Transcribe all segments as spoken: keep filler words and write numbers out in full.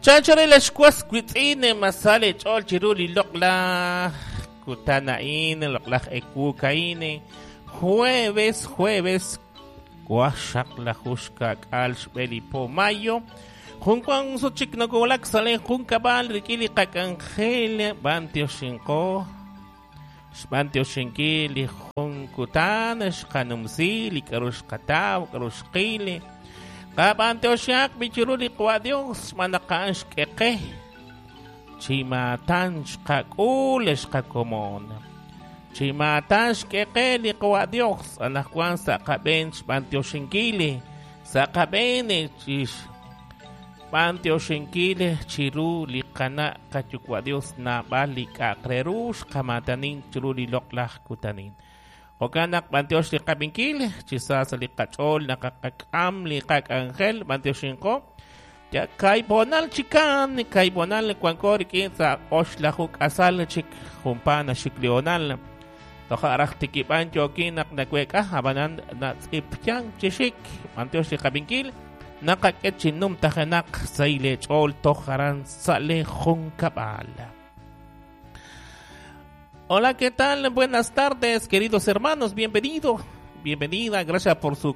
Chanchore xwas witz'in masale ch'ol chiru li loq'laj kutan a'in, loq'laj ewu ka'in, jueves, jueves, waqxaqlaju xka'k'aal xb'e li po mayo. Junkuan suchik nokowlak salen junkab'al rik'in li qak'anjel b'antioxinqo xb'antioxinki li jun kutan xqanumsi li k'aru xqataw k'aru xqil qab'antioxaq bichiru li qwa Dios xb'aan xk'eqe chimatan xqak'ul xqakomon chimatan xk'eqe li qwa Dios anaqwan sa' qab'een xb'antioxinkil sa' qab'een chix b'antioxinkil chiru li qana' qayuwa' Dios naab'al li k'a'aq re ru xqamatanin chiru li loq'laj kutanin. Jo'kan naq b'antiox li qab'inkil chi sa sa' li qach'ool naqaqak'am li qak'anjel b'antioxinqo ya kayb'onal chikan kayb'onal wanko rik'in sa' oxlaju k'asal chik junpa naxik li onal toja' raj tikib'an yookin naq naweek'a ab'anan natz'ipyan chixik b'antiox li qab'inkil naqak'e chi numtajenaq sa' le ch'ool toj aran sa' le junkab'al. Hola, ¿qué tal? Buenas tardes, queridos hermanos. Bienvenido, bienvenida. Gracias por su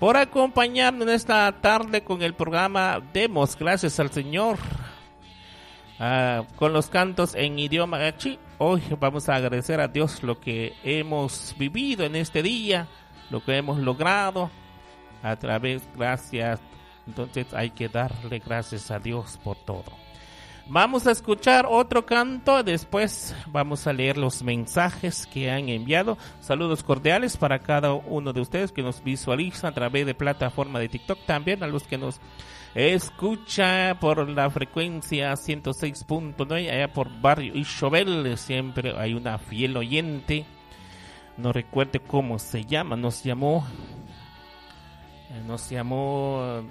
por acompañarnos en esta tarde con el programa Demos gracias al Señor. Ah, con los cantos en idioma gachi. Hoy vamos a agradecer a Dios lo que hemos vivido en este día, lo que hemos logrado a través, gracias. Entonces hay que darle gracias a Dios por todo. Vamos a escuchar otro canto, después vamos a leer los mensajes que han enviado. Saludos cordiales para cada uno de ustedes que nos visualiza a través de plataforma de TikTok, también a los que nos escucha por la frecuencia ciento seis punto nueve, allá por Barrio Ixobel, siempre hay una fiel oyente. No recuerdo cómo se llama, nos llamó, nos llamó,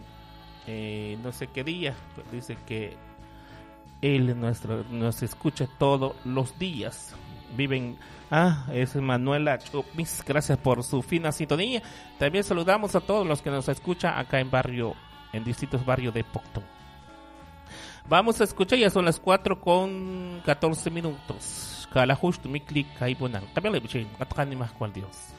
eh, no sé qué día, pero dice que él nuestro, nos escucha todos los días. Viven, ah, es Manuela Chupis, gracias por su fina sintonía. También saludamos a todos los que nos escuchan acá en barrio, en distintos barrios de Poptún. Vamos a escuchar, ya son las cuatro con catorce minutos. Kalajush tumikli kaibonan. Dios.